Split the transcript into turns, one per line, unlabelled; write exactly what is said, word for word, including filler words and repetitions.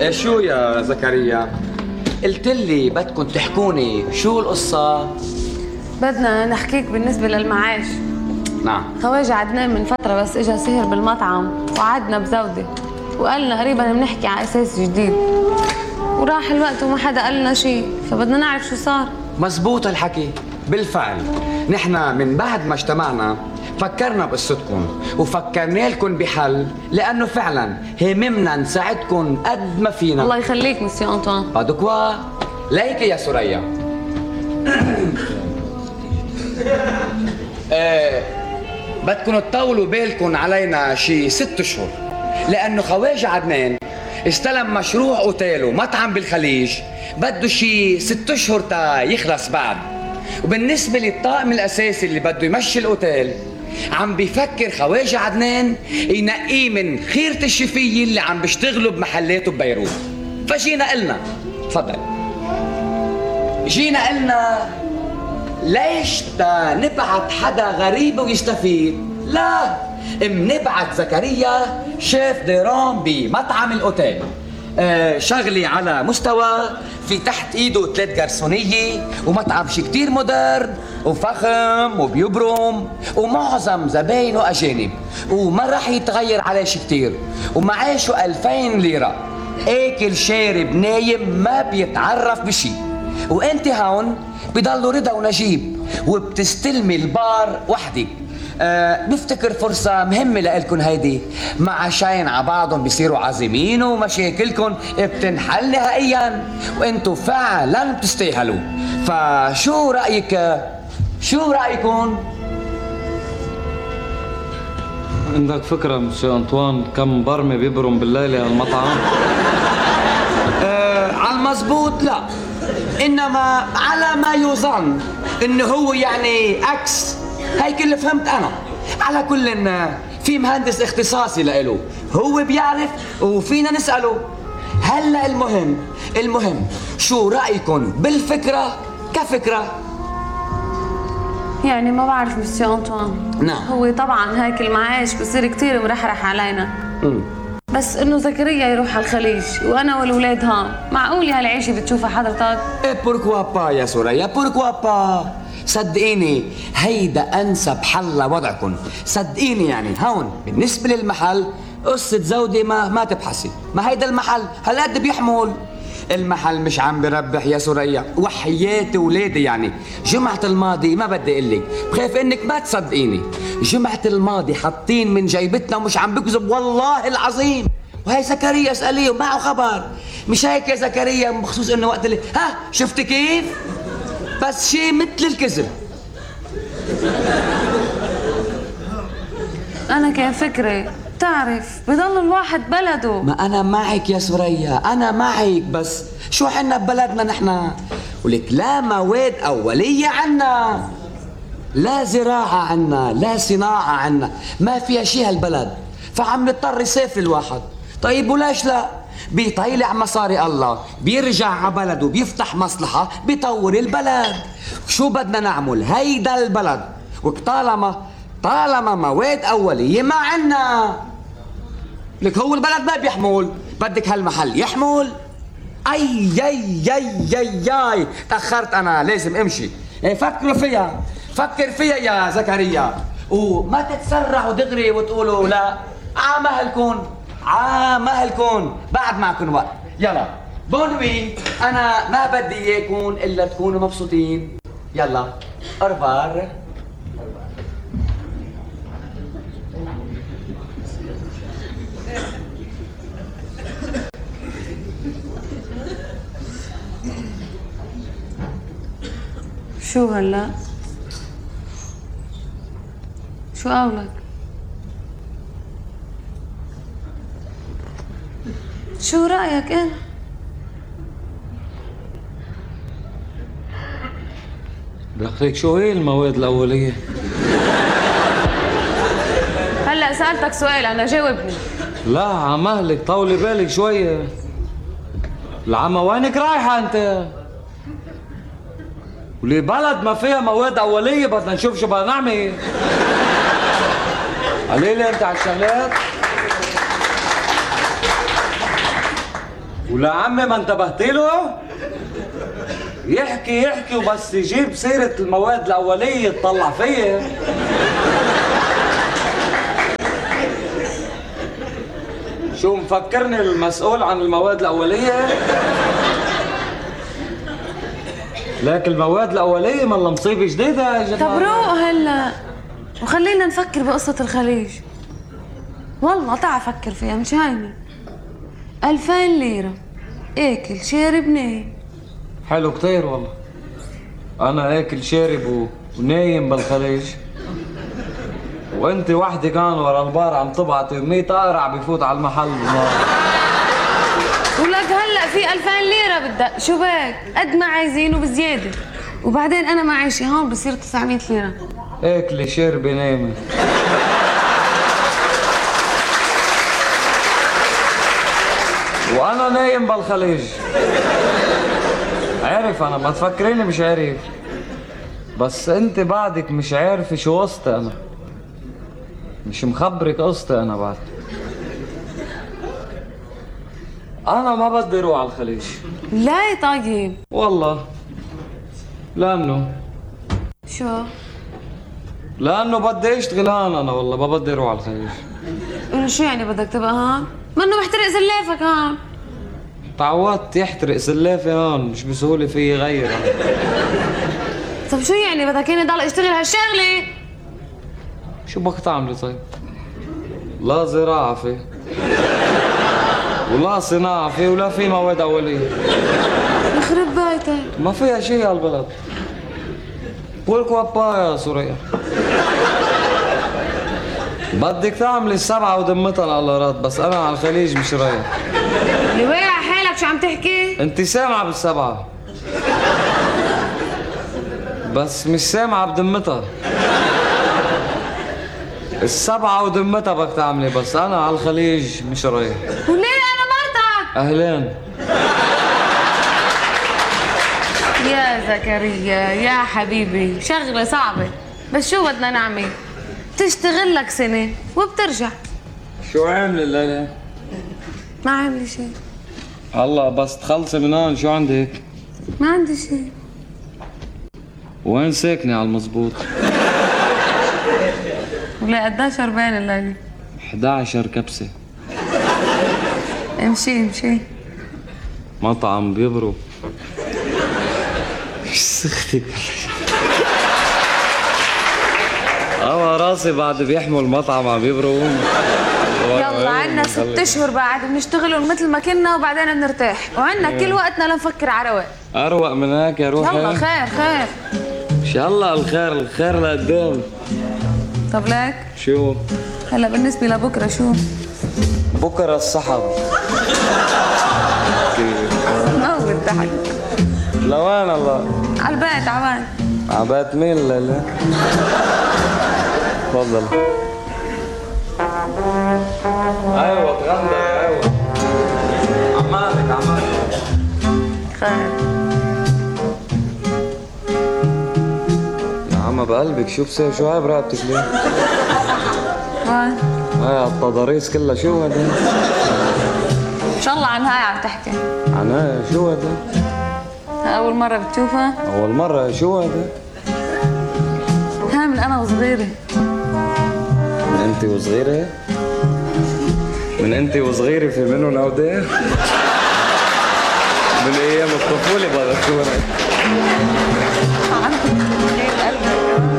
إيه شو يا زكريا؟ قلت لي بدكم تحكوني شو القصة؟
بدنا نحكيك بالنسبة للمعاش.
نعم.
خواجة عدنان من فترة بس اجا سهر بالمطعم وعدنا بزودة وقالنا قريبا بنحكي على اساس جديد، وراح الوقت وما حدا قال لنا شيء، فبدنا نعرف شو صار.
مزبوط الحكي. بالفعل نحن من بعد ما اجتمعنا فكرنا بقصتكم وفكرنا لكم بحل، لانه فعلا هممنا نساعدكم قد ما فينا.
الله يخليك مسيو انطوان.
بادوكوا ليك يا سوريا. ايه بدكم تطولوا بالكم علينا شي ست اشهر، لانه خواجة عدنان استلم مشروع اوتيل ومطعم بالخليج، بده شي ست اشهر تا يخلص بعد. وبالنسبة للطاقم الاساسي اللي بده يمشي الاوتيل، عم بيفكر خواجة عدنان ينقيه من خيرة الشفية اللي عم بيشتغلوا بمحلاته ببيروت. فجينا قلنا تفضل جينا قلنا ليش تا نبعت حدا غريب ويستفيد؟ لا، منبعت زكريا شيف ديران بمطعم الاوتيل، آه شغلي على مستوى، في تحت ايده ثلاث جرسونية ومطعم شي كتير مودرن وفخم وبيبرم ومعظم زباينه اجانب، وما راح يتغير عليه شي كتير، ومعاشه ألفين ليرة، اكل شارب نايم ما بيتعرف بشي. وانت هون بضلوا رضا ونجيب وبتستلمي البار وحدك. أه بفتكر فرصة مهمة لإلكن هيدي، مع شاين على بعضهم بيصيروا عازمين ومشاكلكن بتنحل نهائيا، وانتو فعلا بتستاهلوا. فشو رأيك؟ شو رأيكم؟
عندك فكرة مسيو أنطوان كم برمة بيبرم بالليلة هالمطعم؟
أه على المزبوط لا، إنما على ما يظن إنه هو يعني أكس، هيك اللي فهمت أنا. على كل إن في مهندس اختصاصي لإله هو بيعرف وفينا نسأله. هلا المهم المهم شو رأيكم بالفكرة كفكرة؟
يعني ما بعرف مسيو انطوان.
نعم.
هو طبعا هيك المعاش بصير كتير مرحرح علينا.
امم
بس انه زكريا يروح على الخليج وانا والولاد هون، معقول هالعيشه بتشوفها حضرتك؟
ايه بوركوا با يا سوريا، بوركوا با. صدقيني هيدا انسب حل لوضعكم، صدقيني. يعني هون بالنسبه للمحل قصه زودة ما ما تبحثي، ما هيدا المحل هالقد بيحمل. المحل مش عم بربح يا سوريا، وحياتي ولادي. يعني جمعة الماضي ما بدي اقول لك، بخاف انك ما تصدقيني، جمعة الماضي حاطين من جيبتنا ومش عم بكذب والله العظيم. وهي زكريا اسأليه ومعه خبر. مش هيك يا زكريا؟ بخصوص انه وقت اللي ها شفت كيف؟ بس شيء مثل الكذب.
انا كان فكري بتعرف بضل الواحد بلده.
ما أنا معك يا سوريا، أنا معك، بس شو حنا ببلدنا نحن؟ ولك لا مواد أولية عنا، لا زراعة عنا، لا صناعة عنا، ما فيها شي هالبلد، فعم نضطر يسافر الواحد. طيب وليش لا؟ بيطيلع مصاري الله، بيرجع على بلده، بيفتح مصلحة، بيطور البلد. شو بدنا نعمل؟ هيدا البلد، وطالما طالما مواد أولية ما عنا. لك هو البلد ما بيحمل، بدك هالمحل يحمل. اي يي يي يي يي تأخرت أنا، لازم امشي. ايه فكروا فيها، فكر فيها يا زكريا، وما تتسرعوا دغري وتقولوا لا عامهلكن عامهلكن، بعد معكن وقت. يلا بونوي، أنا ما بدي إياكم إلا تكونوا مبسوطين. يلا أرفار.
شو هلا؟ شو قولك؟ شو رأيك انت؟
دخلك شو هي المواد الأولية؟
هلا سألتك سؤال أنا جاوبني.
لا عمهلك طولي بالك شوية. العمى وينك رايحة أنت؟ ولي بلد ما فيها مواد أولية بدنا نشوف شو بدنا نعمل. قليلة أنت على الشغلات. ولا عمي ما انتبهت له؟ يحكي يحكي وبس يجيب سيرة المواد الأولية تطلع فيا. شو مفكرني المسؤول عن المواد الأولية؟ لكن المواد الأولية مالها مصيبة جديدة يا جماعة.
طب روق هلا وخلينا نفكر بقصة الخليج. والله تعا فكر فيها مش هينة. ألفين ليرة اكل شارب نايم.
حلو كتير والله. أنا آكل شارب و... ونايم بالخليج، وأنت وحدك كان ورا البار عم تبعتي مية قارع بفوت على المحل بنار.
ولك هلا في ألفين ليرة بدك شو بك؟ قد ما عايزين وبزيادة. وبعدين أنا معيشي هون بصير تسعمية ليرة.
اكلي شربي نامي. وانا نايم بالخليج. عارف انا، ما تفكريني مش عارف، بس انت بعدك مش عارفه شو قصتي. انا مش مخبرك قصتي. انا بعد انا ما بدي اروح على الخليج.
لا يا طيب.
والله لانه
شو؟
لانه بدي اشتغل هون. انا والله ما بدي اروح على الخليج.
إنه شو يعني بدك تبقى هون؟ منه محترق زلافك هون.
تعودت يحترق سلافي هون، مش بسهولة في يغير.
طب شو يعني بدك اني ضل اشتغل هالشغلة؟
شو بدك تعملي طيب؟ لا زراعة في، ولا صناعة في، ولا في مواد أولية.
يخرب بيتك.
ما فيها شيء هالبلد. بولكوا با يا سوريا. بدك تعملي السبعة ودمتها القلارات، بس أنا على الخليج مش رايح.
اللي واقع حالك شو عم تحكي؟
أنت سامعة بالسبعة، بس مش سامعة بدمتها. السبعة ودمتها بدك تعملي، بس أنا على الخليج مش رايح.
وليه أنا مرتك؟
أهلين.
يا زكريا يا حبيبي، شغلة صعبة، بس شو بدنا نعمل؟ تشتغل لك سنة وبترجع.
شو عاملة الليلة؟
ما عاملة شيء.
هلا بس تخلصي من هون شو عندك؟
ما عندي شيء.
وين ساكنة على المزبوط؟
ولا قديش شربان الليلة؟
إحدى عشر كبسة.
امشي امشي.
مطعم بيبرو. ايش سختك؟ اما راسي بعد بيحمل مطعم عم بيبرو.
يلا عنا ست اشهر بعد بنشتغلوا مثل ما كنا وبعدين بنرتاح، وعنا كل وقتنا لنفكر على رواق.
اروق من هيك يا روحي.
يلا خير خير.
ان شاء الله الخير، الخير لقدام.
طب لك؟
شو؟
هلا بالنسبة لبكرة شو؟
بكره السحب.
ما هو الضحك.
لوين الله؟
على البيت عوان.
عبات مين الليلة؟ تفضل. ايوه تغنى ايوه. عمالك عمالك.
خير.
يا عم بقلبك شو بصير؟ شو هاي برقبتك ليه؟
وين؟
هاي التضاريس كلها شو هذا؟
ان شاء الله عن هاي عم تحكي.
عن هاي شو هذا؟
أول مرة بتشوفها؟
أول مرة. شو هذا؟
ها من أنا وصغيرة.
من أنت وصغيرة؟ من أنت وصغيرة في منهم أودية؟ من أيام الطفولة بذكرك.
عندك قلبي.